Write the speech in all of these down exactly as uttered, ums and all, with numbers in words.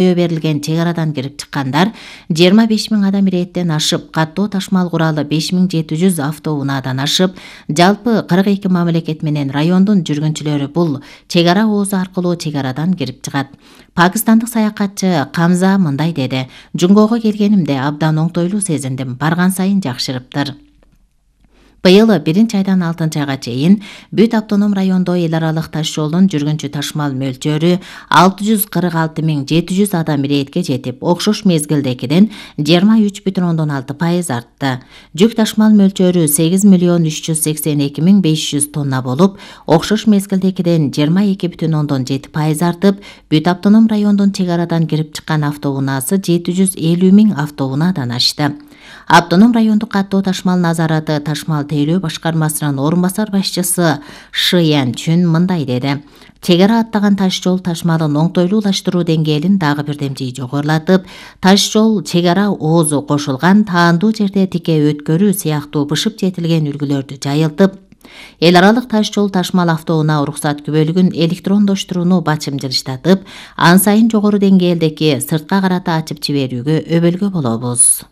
берилген чек арадан кирип чыккандар жыйырма беш миң адам ирээттен ашып, каттоо ташмал куралы беш миң жети жүз автоунаадан ашып, жалпы кырк эки мамлекет менен райондун жүргүнчүлөрү бул чек ара оозу аркылуу чек арадан кирип чыгат. Пакистандык саякатчы Камза мындай деди: "Жунгого келгенимде абдан оңтойлуу сезиндим, барган сайын жакшырыптыр". Быйыл биринчи айдан алтынчы айга чейин бүт автоном райондо эл аралык таш жолдун жүргүнчү ташмал мөлчөрү алты жүз кырк алты миң жети жүз адам ирээтке жетип, окшош мезгилдегиден жыйырма үч бүтүн ондон алты пайыз артты. Жүк ташмал мөлчөрү сегиз миллион үч жүз сексен эки миң беш жүз тонна болуп, окшош мезгилдегиден жыйырма эки бүтүн ондон жети пайыз артып, бүт автоном райондун чек арадан кирип чыккан автоунаасы жети жүз элүү миң автоунаадан ашты. Автоном райондук каттоо ташмал назараты ташмал тейлөө башкармасынын орун басар башчысы Шиян Чүн мындай деди: "Чек ара аттаган таш жол ташмалын оңтойлуулаштыруу деңгээлин дагы бирдемчи жогорулатып, таш жол чек ара оозу кошулган таандуу жерде тике өткөрүү сыяктуу бышып жетилген үлгүлөрдү жайылтып, эл аралык таш жол ташмал автоунаа уруксат күбөлүгүн электрондоштурууну бачымжырыштатып, ан сайын жогору деңгээлдеги сыртка карата ачып жиберүүгө өбөлгө болобуз".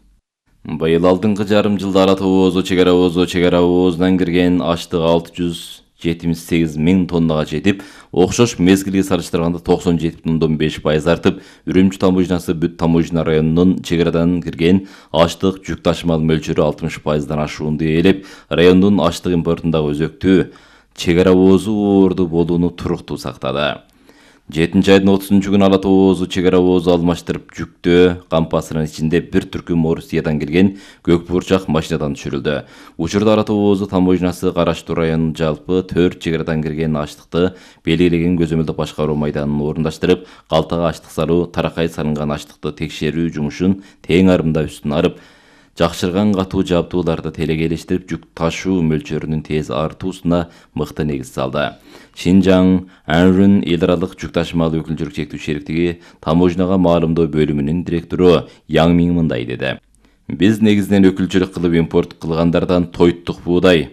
Быйыл алдыңкы жарым жылда Ара тоо оозу чек ара оозу чек ара оозунан кирген аштык алты жүз жетимиш сегиз миң тоннага жетип, окшош мезгилге салыштырганда токсон жети бүтүн ондон беш пайыз артып, Үрүмчү таможнясы бүт таможня районунун чек арадан кирген аштык жүк ташмал мөлчөрү алтымыш пайыздан ашуунду ээлеп, райондун аштык импортундагы өзөктүү чек ара оозу оорду болууну туруктуу сактады. жетинчи айдын отузунчу күнү Ара тоо оозу чек ара оозу алмаштырып жүктөө кампасынын ичинде бир түркүм Орусиядан келген көк буурчак машинадан түшүрүлдү. Учурда Ара тоо оозу таможнясы Караштуу районунун жалпы төрт чек арадан кирген аштыкты белгилеген көзөмөлдүк башкаруу майданын орундаштырып, калтага аштык салуу, таракай салынган аштыкты текшерүү жумушун тең арымда үстүн арып, жакшырган катуу жабдууларды телегейлештирип, жүк ташуу мөлчөрүнүн тез артуусуна мыкты негиз салды. Шинжаң Анрун эл аралык жүк ташмал өкүлчүлүк чектүү шериктиги таможняга маалымдоо бөлүмүнүн директору Яң Миң мындай деди: "Биз негизинен өкүлчүлүк кылып импорт кылгандардан тойттук буудай,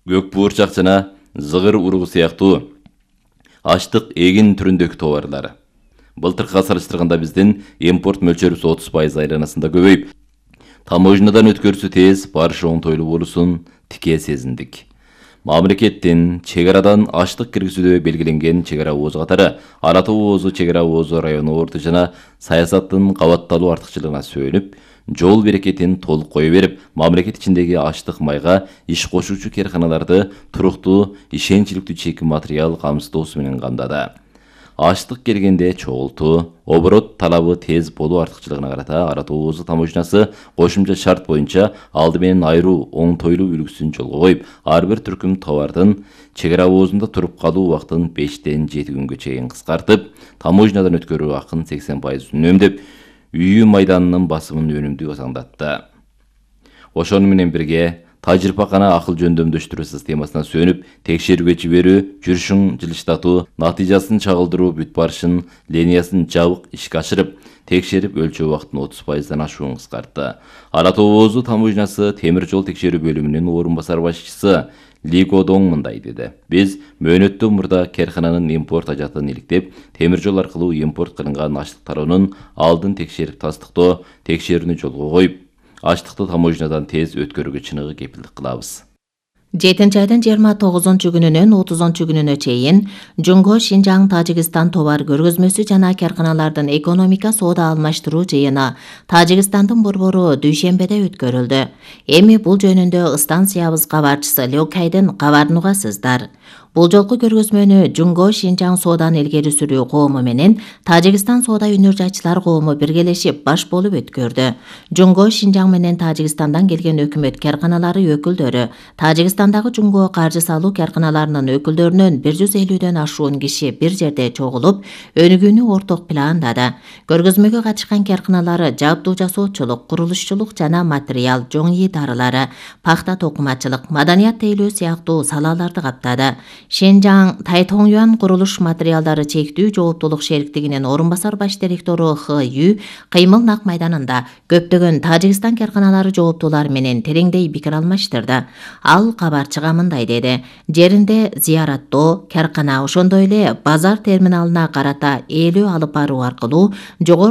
көк буурчак жана зыгыр уругу сыяктуу аштык эгин түрүндөгү товарлар. Былтыркыга салыштырганда биздин импорт мөлчөрүбүз отуз пайыз айланасында көбөйүп, таможнядан өткөрүүсү тез, барышы оңтойлуу болуусун тике сезиндик. Мамлекеттин чек арадан аштык киргизүүдө белгиленген чек ара оозу катары Ара тоо оозу чек ара оозу району орду жана саясаттын кабатталуу артыкчылыгына сөөнүп, жол берекетин толук кое берип, мамлекет ичиндеги аштык майга иш кошуучу карканаларды туруктуу, ишенчиликтүү чек материал камсыздоосу менен камдады. Аштык келгенде чогултуу, оборот талабы тез болуу артыкчылыгына карата Ара тоо оозу таможнясы кошумча шарт боюнча алды менен айруу оңтойлуу үлгүсүн жолго коюп, ар бир түркүм товардын чек ара оозунда туруп калуу убактын бештен жети күнгө чейин кыскартып, таможнядан өткөрүү акын сексен пайыз үнөмдөп, үйүү майданынын басымын өнүмдүү саңдатты. Ошону менен бирге тажрыйбакана акыл жөндөмдөштүрүү системасына сөнүп, текшерүүгө жиберүү, жүрүшүн жылыштатуу, натыйжасын чагылдыруу бүт барышын линиясын жабык ишке ашырып, текшерип өлчөө убактын отуз пайыздан ашуун кыскартты. Ара тоо оозу таможнясы темир жол текшерүү бөлүмүнүн орун басар башчысы Ли Годоң мындай деди: "Биз мөөнөттөн мурда керкананын импорт ажатын иликтеп, темир жол аркылуу импорт кылынган аштыктарын алдын текшерип тастыктоо текшерүүнү жолго коюп, аштыкты таможнядан тез өткөрүүгө чыныгы кепилдик кылабыз". жетинчи айдын жыйырма тогузунчу күнүнөн отузунчу күнүнө чейин Жунго Шинжаң Тажикстан товар көргөзмөсү жана карканалардын экономика соода алмаштыруу жыйыны Тажикстандын борбору дүйшембеде өткөрүлдү. Эми бул жөнүндө станциябыз кабарчысы Лёкайдын кабарын угасыздар. Бул жолку көргөзмөнү Жунго Шинжаң сооданы илгери сүрүү коому менен Тажикстан соода өнөр жайчылар коому биргелешип баш болуп өткөрдү. Жунго Шинжаң менен Тажикстандан келген өкмөт карканалары өкүлдөрү, Тажикстандагы Жунго каржы салуу карканаларынын өкүлдөрүнөн бир жүз элүүдөн ашуун киши бир жерде чогулуп, өнүгүүнү орток пландады. Көргөзмөгө катышкан карканалары жабдуу жасоочулук, курулушчулук жана материал, жоң ии дарылары, пахта токумачылык, маданият тейлөө сыяктуу салаларды каптады. Шенжаң Тайтоңюан курулуш материалдары чектүү жооптулук шериктигинин орун басар баш директору Х Ю кыймыл нак майданында көптөгөн Тажикстан карканалары жооптулар менен тереңдей пикир алмаштырды. Ал кабарчыга мындай деди: жеринде зыяраттоо, каркана, ошондой эле базар терминалына карата ээлөө алып баруу аркылуу жогору